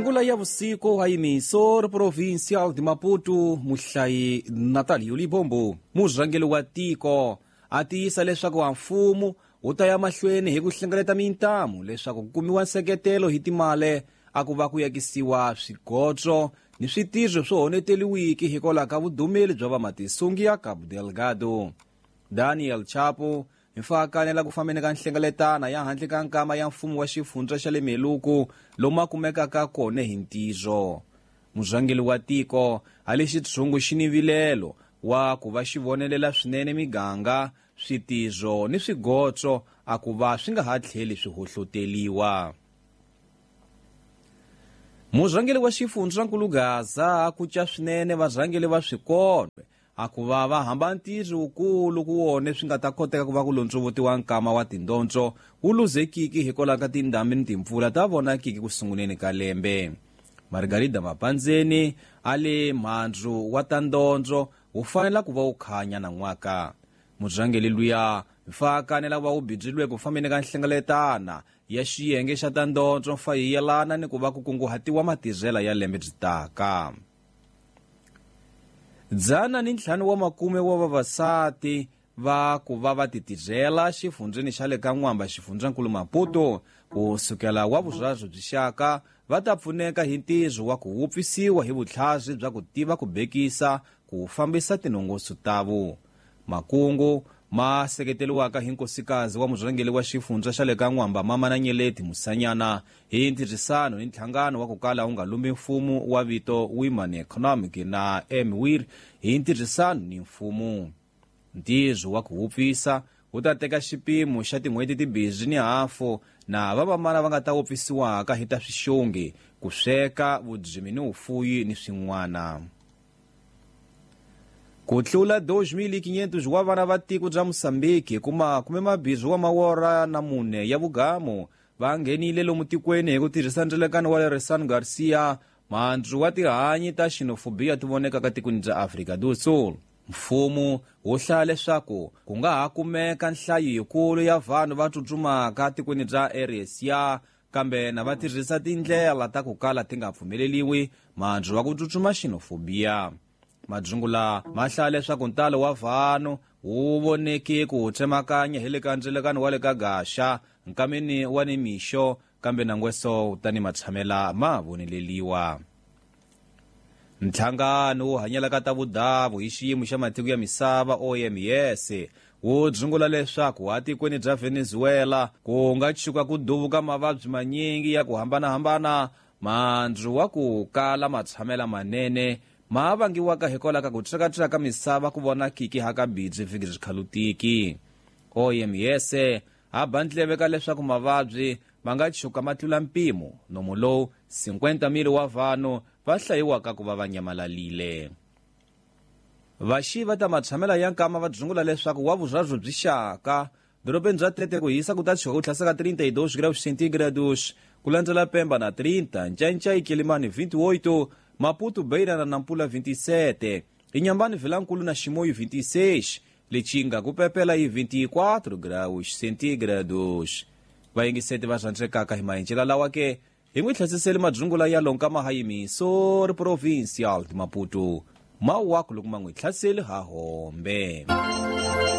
Ngula ya vusiku ha yimiso ri Provincial de Maputo muhlayi Natalio Libombo murhangeri wa tiko a tiyisa leswaku wa mfumo wu ta ya mahlweni hi ku hlengeleta mintamu leswaku ku kumiwa nseketelo hi timale a ku va ku yakisiwa swigotso ni switirho swo honeteliwiki hikwalaho ka vudumeli bya vamatisungi ya Cabo Delgado. Daniel Chapo hi mfakanela ku fambeni ka nhlengeletana ya handle ka nkama ya mfumo wa xifundza xa le Meluku lomu a kumekaka kona hi ntirho. Murhangeri wa tiko a le xitshungu xi ni vilelo wa ku va xi vonelela swinene miganga, switirho ni swigotso a ku va swi nga ha tlheli swi hohloteliwa. Murhangeri wa xifundza nkulu Gaza a kuca swinene varhangeri va swikonwe a ku va va hamba ntirho wukulu ku wone swi nga ta koteka ku va ku londzovutiwa nkama wa tindondzo wu luzekiki hikwalaho ka tindhambi ni timpfula ta vonakiki ku sunguleni ka lembe. Margarida Mapandzeni a le mhandzu wa ta ndondzo wu fanela ku va wu khanya nan'waka. Murhangeri luya mfakanela ku va wu bidzilwe ku fambeni ka nhlengeletana ya xiyenge xa ta ndondzo mfa yi yelana ni ku va ku kunguhatiwa matirhela ya lembe byi taka. 150 wa makume wa vavasati va ku va va titirhela xifundzeni xa le ka N'wamba xifundzankulu Maputo ku sukela wa vurharhu byi xaka va ta pfuneka hi ntirho wa ku wupfisiwa hi vutlhari bya ku tiva ku bekisa ku fambisa tinongoso tavo. Makungu ma seketeriwaka hi nkosikazi wa murhangeri wa xifundza xa le ka N'wamba Mama na Nyeleti Musanyana hi ntirhisano ni nhlangano wa ku kala wu nga lumbi mfumo wa vito Women Economic na MWIR hi ntirhisano ni mfumo. Ntirho wa ku wupfisa wu ta teka xipimo xa tin'hweti timbirhi ni hafu na vamamana va nga ta wupfisiwaka hi ta swixongi, ku sweka, vudzimi ni vufuyi ni swin'wana. Ku tlula 2500 wa vana va tiko bya Mozambique ku makume mabirhi wa mawora na mune ya vugamu va nghenile lomu tikweni hi ku tirhisa ndzelekano wa Leresan Garcia, mhandzu wa tihanyi ta xenophobia ti vonekaka tikweni bya Afrika do Sul. Mfumo wu hlaya leswaku ku nga ha kumeka nhlayo yikulu ya vanhu va tsutsumaka tikweni bya RSA kambe na va tirhisa tindlela ta ku kala ti nga pfumeleliwi mhandzu wa ku tsutsuma xenophobia. Madzungula ma hlaya leswaku ntalo wa vanhu wu voneke ku tsemakanya hi le ka ndzelekano wa le ka Gaxa nkameni wa ni mixo kambe nangweso tani matshamela ma voneleliwa. Nhlangano wo hanyela ka ta vudavu hi xiyimo xa matiko ya misava OMS wu dzungula leswaku atikweni bya Venezuela ku nga tshuka ku duvuka mavabyi manyingi ya ku hambanahambana mhandzu wa ku kala matshamela manene ma vangiwaka hikwalaho ka ku tsekatseka misava ku vonakiki hakabidzi vhiki byi khalutiki. OMS a ba ndleve ka leswaku mavabyi ma nga tshuka ma tlula mpimo nomu lowu 50,000 wa vanhu va hlayiwaka ku va va nyamalalile. Vaxi va ta matshamela ya nkama va dzungula leswaku wa vurharhu byi xaka dorobeni bya Tete ku hisa ku ta tshuka ku tlhasaka 32 graus centígrados ku landzela Pemba na 30, Ncancai Quelimane 28, Maputo Beira na Nampula 27, Inhambane Vilankulu na Chimoio 26, Lichinga ku pepela hi 24 graus centígrados. Vayingiseti va rhandzekaka hi maenjela lawa ke hi n'wi tlhasiseli madzungula ya lonka mahayimiso ri Provincial de Maputo. Mawaku loko ma n'wi tlhaseli ha hombe.